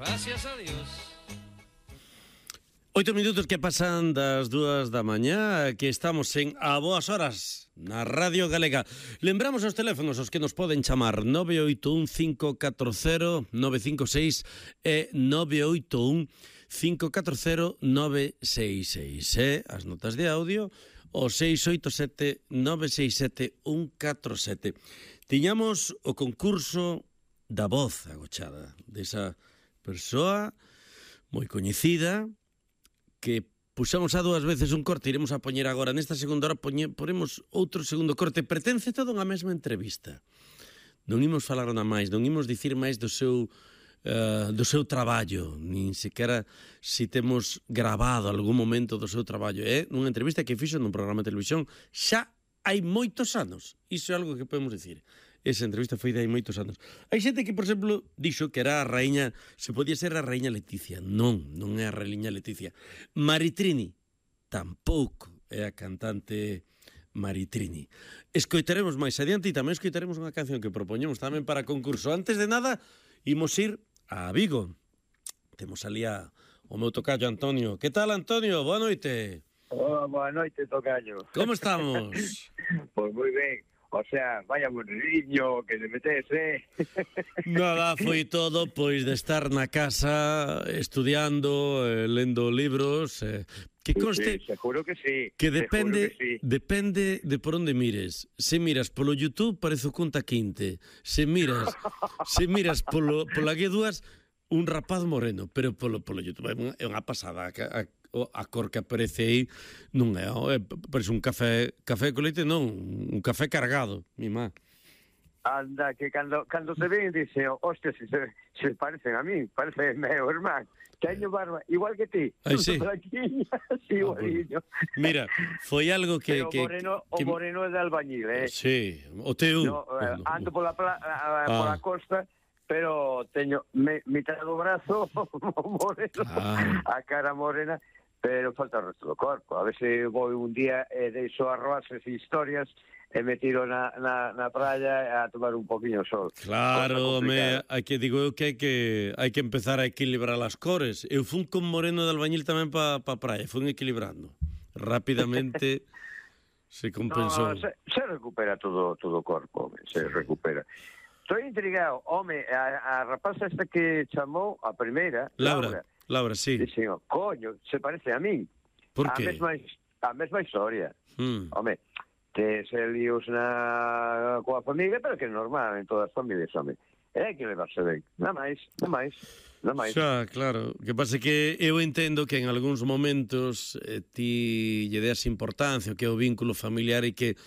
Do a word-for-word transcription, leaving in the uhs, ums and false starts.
Gracias a Dios. Oito minutos que pasan das dúas da mañá, que estamos en A Boas Horas na Radio Galega. Lembramos os teléfonos os que nos poden chamar nove oito un cinco catro cero nove cinco seis e nove oito un cinco catro cero nove seis seis e as notas de audio o seis oito sete nove seis sete un catro sete. Tiñamos o concurso da voz agochada desa persoa moi coñecida que puxamos a dúas veces un corte, iremos a poñer agora nesta segunda hora, poñe, poremos outro segundo corte, pertence todo unha mesma entrevista. Non imos falar nada máis, non imos dicir máis do seu uh, do seu traballo, nin sequera si temos grabado algún momento do seu traballo. É unha entrevista que fixo nun programa de televisión xa hai moitos anos. Iso é algo que podemos dicir. Esa entrevista foi de hai moitos anos. Hai xente que, por exemplo, dixo que era a raíña, se podía ser a raíña Leticia. Non, non é a raíña Leticia. Maritrini, tampouco é a cantante Maritrini. Escoitaremos máis adiante e tamén escoitaremos unha canción que propoñemos tamén para concurso. Antes de nada, imos ir a Vigo. Temos ali a, o meu tocayo Antonio. Que tal, Antonio? Boa noite. Oh, boa noite, tocayo. Como estamos? Pois moi ben. O sea, vaya bonriño que le metes, eh? Nada, foi todo, pois, de estar na casa estudiando, eh, lendo libros, eh, que conste... Sí, seguro que sí. Que depende, que sí. depende de por onde mires. Se miras polo YouTube, parece o Cunta Quinte. Se miras, se miras polo, pola G dúas, un rapaz moreno, pero polo, polo YouTube é unha, é unha pasada. A, a, a cor que aparece aí non é, é parece un café café con leite, non, un café cargado, mi má. Anda, que cando, cando te ven dice, hostia, se, se parecen a mí, parece meu irmán. Teño barba, igual que ti. Ai, sí. Sí, igualiño. Mira, foi algo que... Pero que, o moreno, que, o moreno é de albañil, eh? Sí, o teu. No, eh, ando pola, pla, ah. pola costa, pero teño me, mitad do brazo moreno, ah. a cara morena, pero falta o resto do corpo. A ver se vou un día e eh, deixo arroases e historias e me tiro na, na, na praia a tomar un poquinho sol. Claro, me, hai que digo eu que hai que hai que empezar a equilibrar as cores. Eu fun con moreno de albañil tamén pa, pa praia, fun equilibrando. Rapidamente se compensou. No, se, se recupera todo todo o corpo, se recupera. Estou intrigado, home, a, a rapaza esta que chamou a primeira, Laura, Laura, Laura sí. Dixen, coño, se parece a min. Por a que? Mesma, a mesma historia. Mm. Home, te se líos na coa familia, pero que é normal en todas as familias, home. É que levarse ben, nada máis, nada máis, nada máis. Xa, claro, que pasa que eu entendo que en algúns momentos eh, ti lle deas importancia, que é o vínculo familiar e que